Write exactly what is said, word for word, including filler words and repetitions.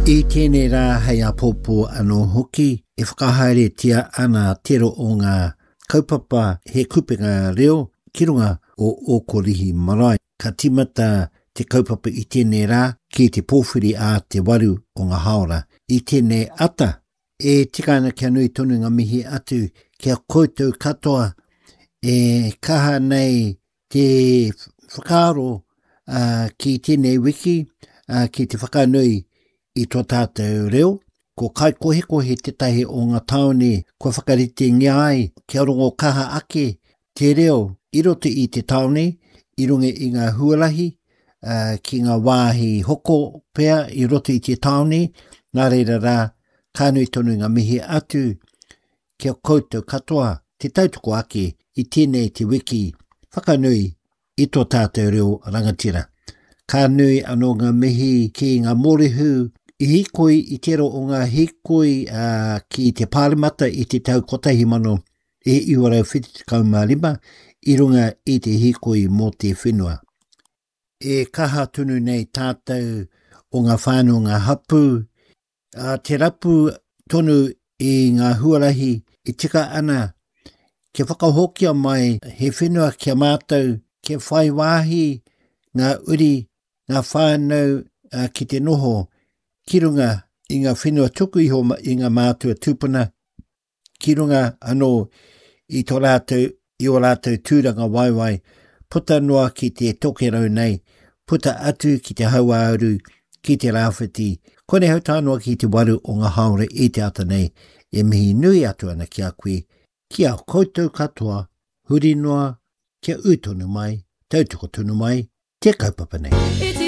I tēnei rā hei āpōpō anō hoki e whakahaeretia ana tērā o ngā kaupapa he kupenga reo ki runga o Ōkorihi Marae. Ka tīmata te kaupapa i tēnei rā ki te pōwhiri a te waru o ngā hāora. I tēnei ata, e tika ana kia nui tonu ngā mihi atu ki a koutou katoa e kaha nei te whakaaro uh, ki tēnei wiki uh, ki te whakanui i tō tātou reo. Ko Kaikohekohe tētahi o ngā tāone kua whakaritengia ai kia rongo kaha ake te reo i roto i te tāone, i runga i ngā huarahi, uh, ki ngā wāhi hoko pea i roto i te tāone. Nā reira rā, ka nui tonu ngā mihi atu ki a koutou katoa te tautoko ake i tēnei te wiki whakanui i tō tātou reo rangatira. Ka nui anō ngā mihi ki ngā mōrehu i hīkoi i tērā o ngā hīkoi uh, ki te Pāremata i te tau kotahi mano e iwa rau whitu tekau mā rima i runga i te hīkoi mō te whenua. E kaha tonu nei tātou o ngā whānau ngā hapū, uh, te rapu tonu i ngā huarahi i tika ana kia whakahokia mai he whenua kia mātou, kia whai wāhi ngā uri, ngā whānau uh, ki te noho ki runga i ngā whenua tuku iho i ngā mātua tūpuna, ki runga anō i tō rātou, i o rātou tūranga waewae, puta noa ki te tokerau nei, puta atu ki te hauāuru, ki te rāwhiti. Konei hau tae noa ki te waru o ngā hāora i te ata nei, e mihi nui atu ana ki a koe, ki a koutou katoa, huri noa, kia ū tonu mai, tautoko tonu mai, te kaupapa nei.